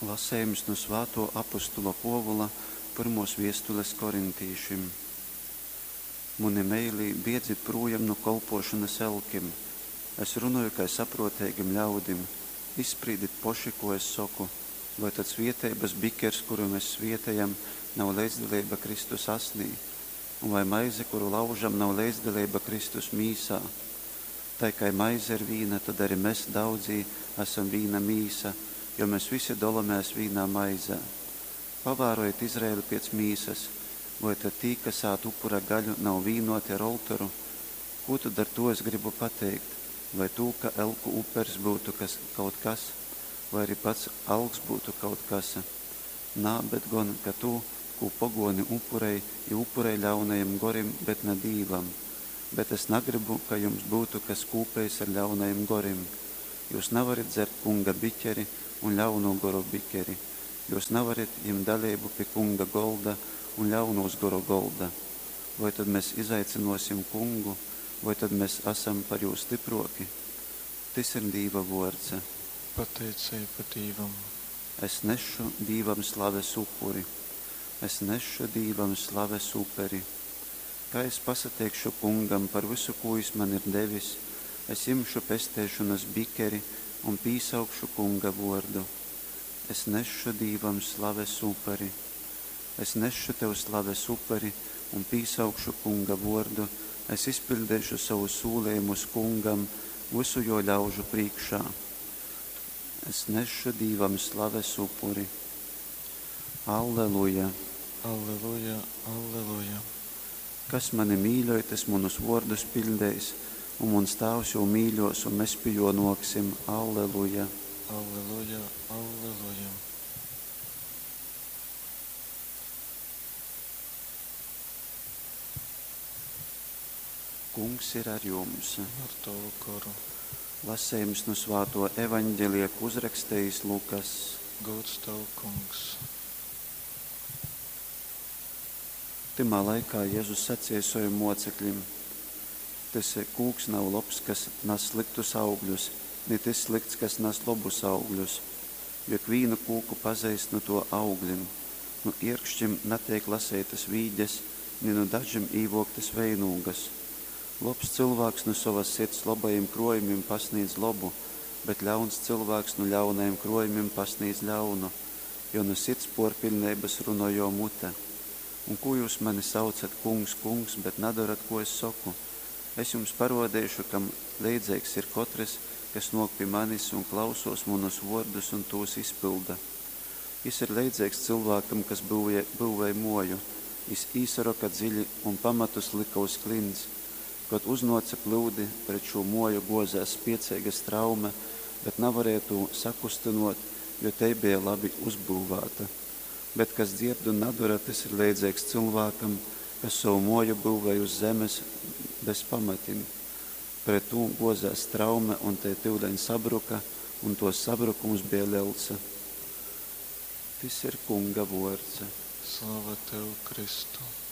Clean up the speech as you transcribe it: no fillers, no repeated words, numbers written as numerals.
Lasejums nu svātuo apostula Puovula pyrmuos viestules korintīšim. Muni meilī, biedzit prūjam nu kolpuošonys elkim. Es runoju kai sapruoteigim ļaudim. Izsprīdit poši, kū es soku. Voi tad svieteibys bikers, kuru mes svietejam, nav leidzdaleiba Kristus asnī? Un vai maize, kuru laužam, nav leidzdaleiba Kristus mīsā? Tai kai maize ir vīna, tod ari mes, daudzī, asam vīna mīsa, jo mes visi dolomēs vīnā maizē. Pavārojit Izraeli piec mīsas. Voi tad tī, kas ād upura gaļu, nav vīnōti ar oltoru? Kū tod ar tū es grybu pateikt? Vai tū, ka elku upers byutu kas, kaut kas, vai arī pats alks byutu kaut kas? Nā, bet gon, ka tū, kū pogōni upurej, jī upurej ļaunajim gorim, bet na Dīvam. Bet es nagrybu, ka jums byutu kas kūpejs ar ļaunajim gorim. Jyus navarit dzert Kunga biķeri un ļaunū goru bikeri. Jyus navarit jimt daleibu pi Kunga golda un ļaunūs goru golda. Voi tod mes izaicynōsim Kungu, voi tod mes asam par jū styprōki? Tys ir Dīva vōrds. Pateiceiba Dīvam. Es nesšu Dīvam slaves upuri. Es nesšu Dīvam slaves uperi. Kai es pasateikšu Kungam par vysu, kū jys man ir devis, es jimšu pesteišonas bikeri un pīsaukšu Kunga vōrdu. Es nesšu Dīvam slaves uperi. Es nesšu tev slaves uperi un pīsaukšu Kunga vōrdu, es izpiļdeišu sovus sūlejumus Kungam vysu jō ļaužu prīškā. Es nesšu Dīvam slaves upuri. Alleluja! Alleluja, alleluja! Kas mani mīļoj, tys munus vōrdus piļdeis, un muns Tāvs jū mīļōs, un mes pi jō nōksim. Alleluja! Alleluja, alleluja! Kungs ir ar jums. Un ar tovu goru. Lasejums nu svātuo Evaņgelija, kū uzrakstejis Lukass. Gūds tev, Kungs! Tymā laikā Jezus saceja sovim muoceklim, Tys kūks nav lobs, kas nas slyktus augļus, ni tys slykts, kas nas lobus augļus. Jo ikvīnu kūku pazeist nu tuo auglim. Nu ierkšķim nateik laseitys vīģes, ni nu dažim īvuoktys veinūgas. Lobs cylvāks nu sovas sirds lobajim kruojumim pasnīdz lobu, bet ļauns cylvāks nu ļaunajim kruojumim pasnīdz ļaunu, jo nu sirds puorpiļneibys runoj juo mute. Un kū jyus mani saucat, Kungs, Kungs, bet nadorat, kū es soku? Es jums paruodeišu, kam leidzeigs ir kotrys, kas nuok pi manis un klausuos munus vuordus un tūs izpylda. Jis ir leidzeigs cylvākam, kas byuvej muoju. Jis īsaroka dziļi un pamatus lyka uz klints. Kod uznuoce plyudi, pret šū muoju guozēs spieceiga straume, bet navarēja tū sakustynuot, jo tei beja labi uzbyuvāta. Bet kas dzierd un nadora, tys ir leidzeigs cylvākam, kas sovu muoju byuvej uz zemes bez pamatim. Pret tū guozēs straume, un tei tyuleņ sabruka, un tuos sabrukums beja lels. Tys ir Kunga vuords. Slava tev, Kristu!